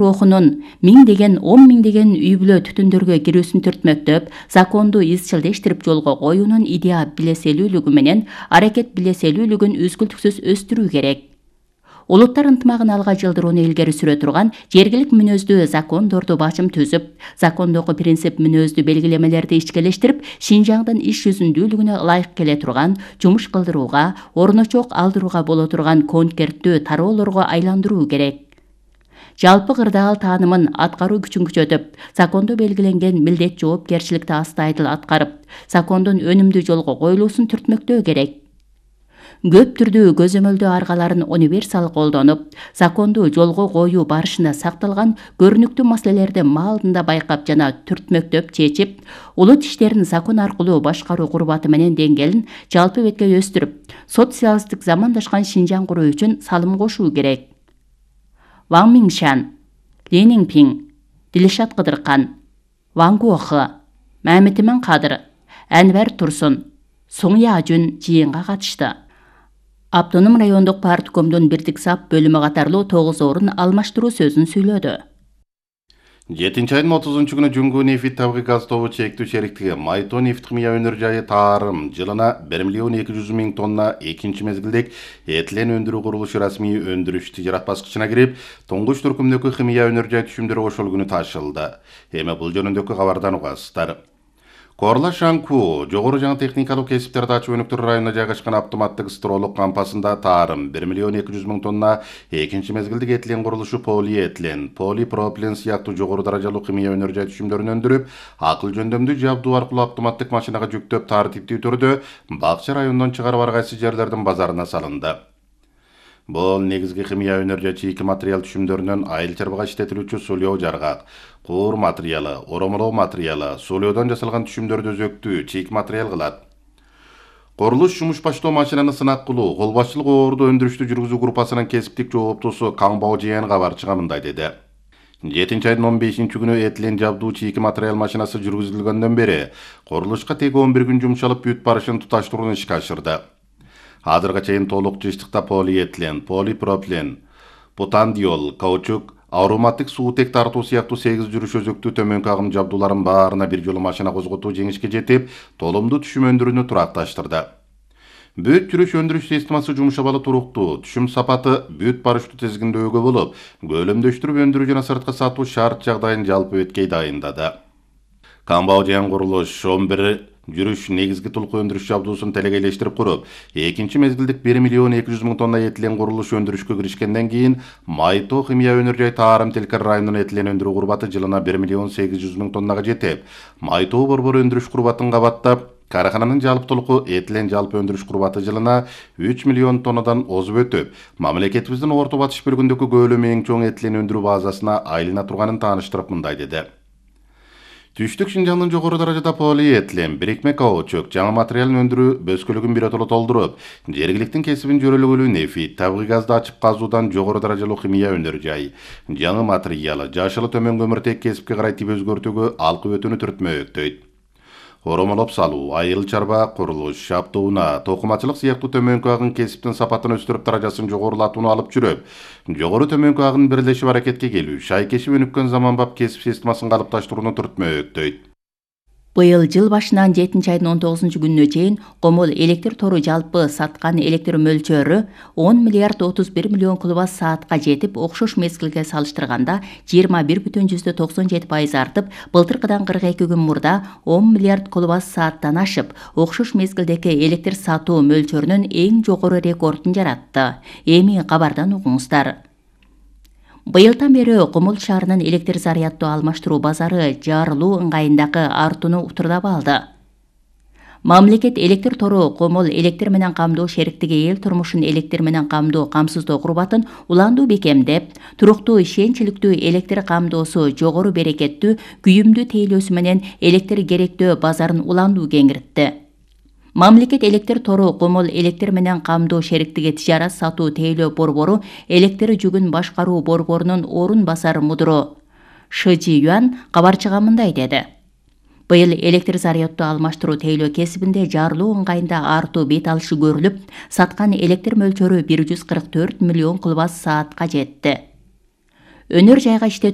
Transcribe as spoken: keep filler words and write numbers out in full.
Рухунун миңдеген, он миңдеген үй бүлө түтүндөргө кирүүсүн түртмөктөп, законду изчилдештирип жолго коюунун идея билеселүүлүгү менен аракет билеселүүлүгүн үзгүлтүксүз өстүрүү керек. Улуттар ынтымагын алга жылдырууну илгери сүрө турган жергилик мүнөздүү закондорду башым түзүп, закондогу принцип мүнөздүү белгилемелерди ичкелештирип, Шинжаңдын иш жүзүндүүлүгүнө ылайык келе турган, жумуш кылдырууга, орночок алдырууга боло турган конкерттүү тароолорго айландыруу керек. Жалпы кырдаал таанымын аткаруу күчүн күчөтүп, закондо белгиленген милдет жоопкерчиликти астайдыл аткарып, закондун өнүмдүү жолго коюлуусун түртмөктөө керек. Көп түрдүү көзөмөлдөө аргаларын универсал колдонуп, законду жолго коюу барышында сакталган көрүнүктүү маселелерди маалында байкап жана түртмөктөп чечип, улут иштерин закон аркылуу башкаруу курбаты менен деңгээлин жалпы бетке өстүрүп, социалисттик замандашкан Шинжаң куруу үчүн салым кошуу керек. Ван Миншан, Ли Ниңпиң, Дилшат Кыдыркан, Ван Гуохы, Мамитимен Кадыр, Әнвер Турсун, Суң Яжүн жыйынга катышты. Автоном райондук парткомдун бирдик сап бөлүмү катарлуу тогуз орун алмаштыруу сөзүн сүйлөдү. жетинчи айдын отузунчу күнү Жуңгу нефит табигый газ тобу чектүү шериктиги Майто нефт химия өнөр жайы Таарым жылына бир миллион эки жүз миң тонна экинчи мезгилдик этилен өндүрүү курулушу расмий өндүрүш тижарат баскычына кирип, туңгуч түркүмдөгү химия өнөр жай түшүмдөрү ошол күнү ташылды. Эми бул жөнүндөгү кабардан угасыздар. Корла Шанку жогору жаңы техникалык кесиптерди ачуу өнүктүрүү районуна жайгашкан автоматтык стролук кампасында Таарым бир миллион эки жүз миң тонна экинчи мезгилдик этилен курулушу полиэтилен, полипропилен сыяктуу жогору даражалуу химия өнөр жай түшүмдөрүн өндүрүп, акыл жөндөмдүү жабдуу аркылуу автоматтык машинага жүктөп тартиптүү түрдө Бакча районунан чыгарып ар кайсы жерлердин базарына салынды. Бул негизги химия өнөр жай чийки материал түшүмдөрүнөн айыл чарбага иштетилүүчү сулоо жаргак, куур материалы, оромолоо материалы, сулоодон жасалган түшүмдөрдү өзөктүү чийки материал кылат. Курулуш жумуш баштоо машинаны сынак кылуу, кол башчылык оорду өндүрүштү жүргүзүү группасынын кесиптик жооптусу Каңбоо Жээн кабарчыга мындай деди. жетинчи айдын он бешинчи күнү этилен жабдуу чийки материал машинасы жүргүзүлгөндөн бери курулушка теги он бир күн жумшалып бүт барышын туташтырууну ишке ашырды. Азырга чейин толук жыштыкта полиэтилен, полипропилен, бутандиол, каучук, ароматтык суутек тартуу сыяктуу сегиз жүрүш өзөктүү төмөнкү агым жабдууларын баарына бир жолу машина козготуу жеңишке жетип, толумдуу түшүм өндүрүүнү туракташтырды. Бүт жүрүш өндүрүш системасы жумшабалы туруктуу, түшүм сапаты бүт барыштуу тизгиндөөгө болуп, көлөмдөштүрүп өндүрүү жана сырткы сатуу шарт жагдайын жалпы беткей дайындады. Каңбоо Жээн курулуш он бир жүрүш негизги тулку өндүрүш жабдуусун телегейлештирип куруп, экинчи мезгилдик бир миллион эки жүз миң тонна этилен курулуш өндүрүшкө киришкенден кийин Майто химия өнөр жай Таарым Телкер районунун этилен өндүрүү курбаты жылына бир миллион сегиз жүз миң тоннага жетип, Майто борбор өндүрүш курбатын кабаттап, карахананын жалпы толуку этилен жалпы өндүрүш курбаты жылына үч миллион тоннадан озуп өтүп, мамлекетибиздин орто батыш бөлүгүндөгү көлөмү эң чоң этилен өндүрүү базасына айлана турганын тааныштырып мындай деди. Түштүк Шинжаңдын жогору даражада полиэтилен, бирикме каучук, жаңы материалын өндүрүү бөскөлүгүн биротоло толтуруп, жергиликтин кесибин жөрөлөгөлүү нефит, табигый газды ачып казуудан жогору даражалуу химия өнөр жай, жаңы материалы, жашылы төмөн көмүртек кесипке карай тип өзгөртүүгө алкы өтүүнү түртмөктөйт. Оромолоп салуу, айыл чарба курулуш, шаптууна, токумачылык сыяктуу төмөнкү агын кесиптин сапатын өстүрүп даражасын жогорулатууну алып жүрүп, жогору төмөнкү агын бирлешип аракетке келүү, шайкешип өнүккөн заманбап кесип системасын калыпташтырууну түртмөктөйт. Быйыл жыл башынан жетинчи айдын он тогузунчу күнүнө чейин Комол электр тору жалпы саткан электр мөлчөрү он миллиард отуз бир миллион киловатт саатка жетип, окшош мезгилге салыштырганда жыйырма бир бүтүн жүздө токсон жети пайыз артып, былтыркыдан кырк эки күн мурда он миллиард киловатт сааттан ашып, окшош мезгилдеги электр сатуу мөлчөрүнүн эң жогору рекордун жаратты. Эми кабардан угуңуздар. Быйылдан бери Комол шаарынын электр заряддуу алмаштыруу базары жарылуу ыңгайындагы артууну утурдап алды. Мамлекет электр тору Комол электр менен камдоо шериктиги эл турмушун электр менен камдоо камсыздоо курбатын уландуу бекемдеп, туруктуу ишенчиликтүү электр камдоосу жогору берекеттүү күйүмдүү тейлөөсү менен электр керектөө базарын уландуу кеңиртти. Мамлекет электр тору Комол электр менен камдоо шериктиги тижарат сатуу тейлөө борбору электр жүгүн башкаруу борборунун орун басар мудуру Шыжи Юан кабарчыга мындай деди. Быйыл электр заряддуу алмаштыруу тейлөө кесибинде жарылуу ыңгайында артуу бет алышы көрүлүп, саткан электр мөлчөрү бир жүз кырк төрт миллион киловатт саатка жетти. өнөр жайга иштетүү